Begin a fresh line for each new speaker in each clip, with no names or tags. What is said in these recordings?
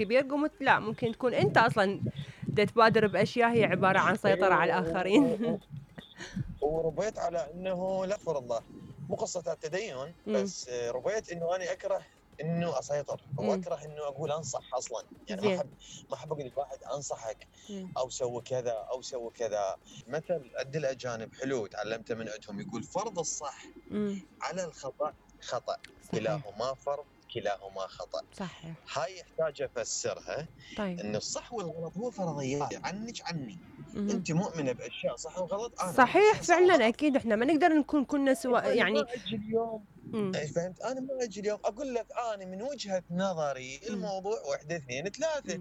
كبير قمت لا ممكن تكون انت اصلا تبادر باشياء هي عباره عن سيطره على الاخرين.
وربيت على انه لا فرض الله مو قصه التدين، بس ربيت انه انا اكره انه اسيطر او اكره انه اقول انصح اصلا، يعني ما احب اقول لواحد انصحك او سوي كذا او سوي كذا. مثل عند الاجانب حلو تعلمته من عندهم، يقول فرض الصح على الخطا خطا، كلاهما فرض كلاهما خطا.
صحيح.
هاي يحتاج افسرها.
طيب.
انه الصح والغلط هو فرضيات عني. انت مؤمنه باشياء صح وغلط، انا
صحيح فعلا اكيد احنا ما نقدر نكون كلنا سواء يعني.
ما اجي اليوم فهمت، انا ما اجي اليوم اقول لك انا من وجهه نظري الموضوع 1 2 3.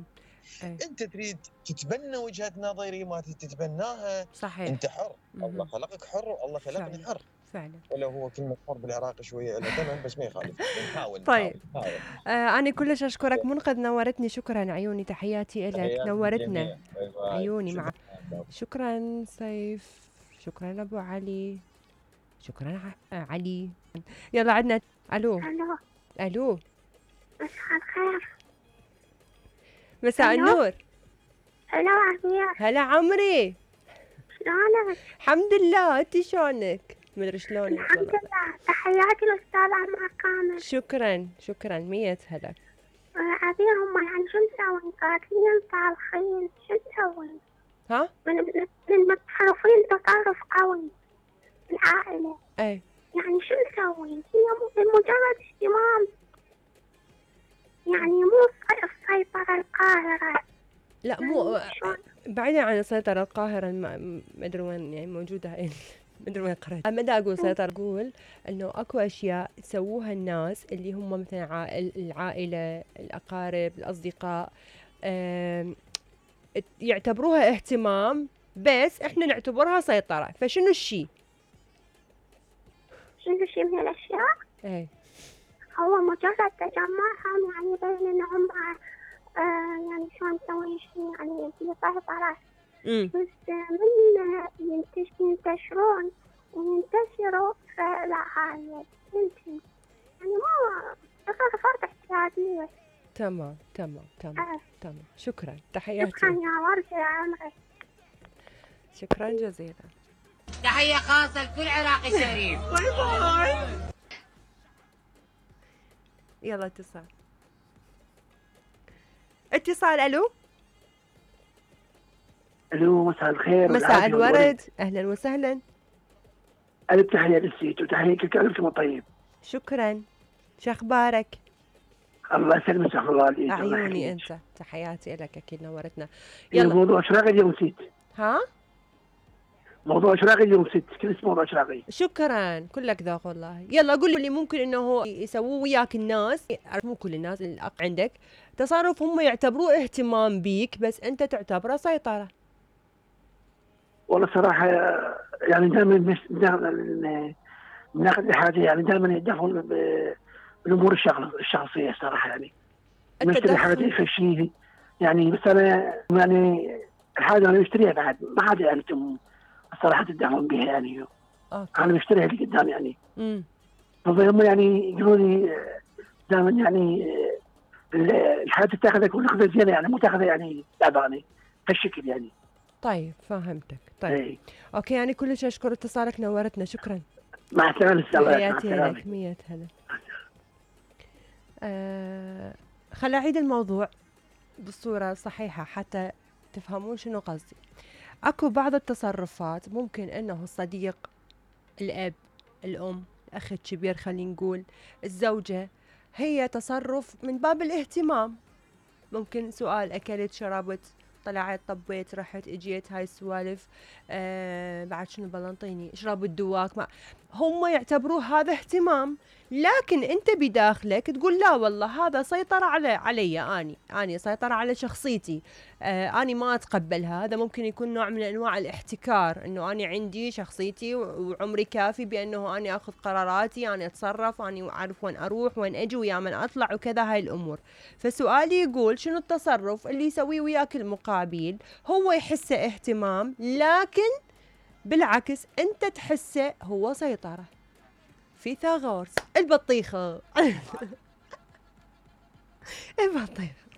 انت تريد تتبنى وجهه نظري ما تتبناها،
صحيح
انت حر. الله خلقك حر والله خلقني حر
فعلا.
ولو هو كلمه حر بالعراقي شويه له ثمن بس ما يخالف، نحاول.
طيب انا كلش اشكرك منقذ، نورتني، شكرا عيوني، تحياتي لك، نورتنا عيوني مع شكرا سيف، شكرا ابو علي، شكرا علي. يلا عدنا. الو الو
مساء الخير.
مساء النور.
هلا عمير.
هلا عمري،
شلونك؟
الحمد لله، انت شلونك؟ مدري شلونك.
الحمد لله، تحياتي للاستاذ عمر كامل.
شكرا 100 هلا.
عبير هم يعني شو نسوي؟ قاتلين صالحين شو نسوي؟
ها؟
من متصرفين تصرف قوي العائلة.
اي
يعني شو نسوي؟ هي مجرد اهتمام، يعني مو السيطرة القاهرة.
لا مو بعيدا عن السيطرة القاهرة، ما ادري وين يعني موجودة ما ادري وين قريت. ما دا اقول سيطرة، اقول انه اكو اشياء تسووها الناس اللي هم مثلا العائلة، الاقارب، الاصدقاء، يعتبروها اهتمام بس احنا نعتبرها سيطرة. فشنو الشيء؟
شنو الشيء من الاشياء؟
ايه
هو مجرد تجمعهم يعني بين انهم يعني شلون نسوي شيء يعني في سيطرة، بس من ينتشرون وينتشروا فلا هاي يمكن يعني ما تصرفات احتياجية.
تمام. شكرا، تحياتي.
شكرا يا وردة يا عمري.
شكرا جزيلا.
تحية خاصة لكل عراقي شريف. باي باي.
يلا اتصال.
الو مساء الخير.
مساء الورد، اهلا وسهلا.
الف تحية للسيت وتحية لك، الف طيب.
شكرا، شو اخبارك؟
الله يسلمك الله عليك.
عيوني انت، تحياتي لك، اكيد نورتنا.
يلا موضوع اشراقي اليوم نسيت.
ها؟
موضوع اشراقي اليوم نسيت، كل اسم موضوع اشراقي.
شكرا، كلك ذوق والله. يلا قول لي ممكن انه يسووه وياك الناس، مو كل الناس، عندك تصرف هم يعتبروه اهتمام بيك بس انت تعتبره سيطرة.
والله صراحة يعني دائما ناخذ الحاجة، يعني دائما يتدخلون بالامور الشخصية صراحة، يعني نشتري حاجة في شيء يعني، بس انا يعني الحاجة انا بشتريها بعد ما حد يعني الصراحة تدعمون بها يعني. انا بشتريها اللي قدام يعني. فهم يعني يقولون لي دائما يعني الحاجة تاخذك وناخذها زينة، يعني مو تاخذها يعني تعبانة هالشكل يعني.
طيب فهمتك. طيب اوكي، يعني كلش اشكر اتصالك، نورتنا، شكرا.
مع السلامة.
تحياتي لك، 100 هلا. خل اعيد الموضوع بالصورة الصحيحة حتى تفهمون شنو قصدي. اكو بعض التصرفات ممكن انه الصديق، الاب، الام، الاخ الكبير، خلينا نقول الزوجة، هي تصرف من باب الاهتمام. ممكن سؤال، اكلت، شربت، طلعت، طبيت، رحت، اجيت، هاي السوالف. بعد شنو بلنطيني، اشرب الدواك، هم يعتبروه هذا اهتمام، لكن انت بداخلك تقول لا والله هذا سيطرة علي، اني سيطرة على شخصيتي، اني ما اتقبل هذا. ممكن يكون نوع من انواع الاحتكار، انه اني عندي شخصيتي وعمري كافي بانه اني اخذ قراراتي، اني اتصرف، اني اعرف وين اروح وين اجي ويا من اطلع وكذا، هاي الامور. فسؤالي يقول شنو التصرف اللي يسويه وياك المقابل هو يحسه اهتمام، لكن بالعكس انت تحسه هو سيطرة. فيثاغورس البطيخة. البطيخة